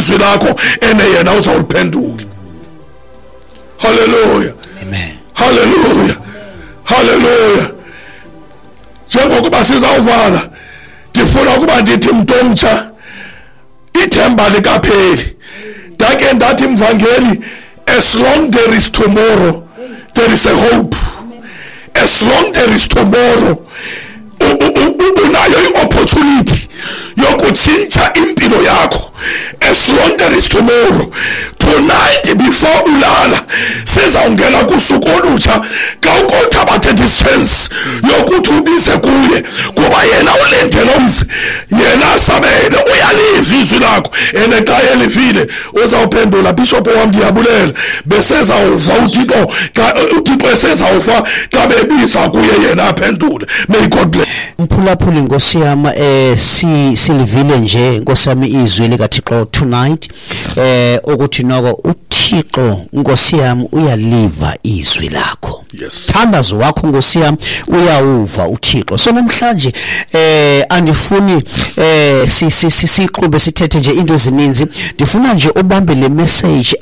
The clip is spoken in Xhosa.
Izwi lakho ene yena uzawuliphendula. Haleluya. Amen. Haleluya, haleluya. Njengokuba sizawuvala, ndifuna ukuba ndithi, mntu omtsha, ithemba likapheli. Ndake ndathi, mvangeli, as long there is tomorrow, there is a hope. As long there is tomorrow, unayo i-opportunity yokutshintsha impilo yakho. As long there is tomorrow, tonight before ulala, sizawungena kusuku olutsha. Khawukuthabathe this chance yokuthi ubize kuye, kuba yena ulindele umzi, yena asabele. Uyaliva izwi lakho, and xa elivile uzawuphendula. Bishop wam, ndiyabulela. Besezawuva uThixo xa uThixo esezawuva xa bebiza kuye, yena aphendule. May God bless. Mphulaphuli, nkosi yam, silivile nje, nkosi yami, izwi likaThixo tonight, ukuthi noko uThixo, nkosi yam, uyaliva izwi lakho. Thandazo wakho, nkosi yam, uyawuva uThixo. So namhlanje andifuni siqhube sithethe nje into ezininzi. Ndifuna nje ubambe le message.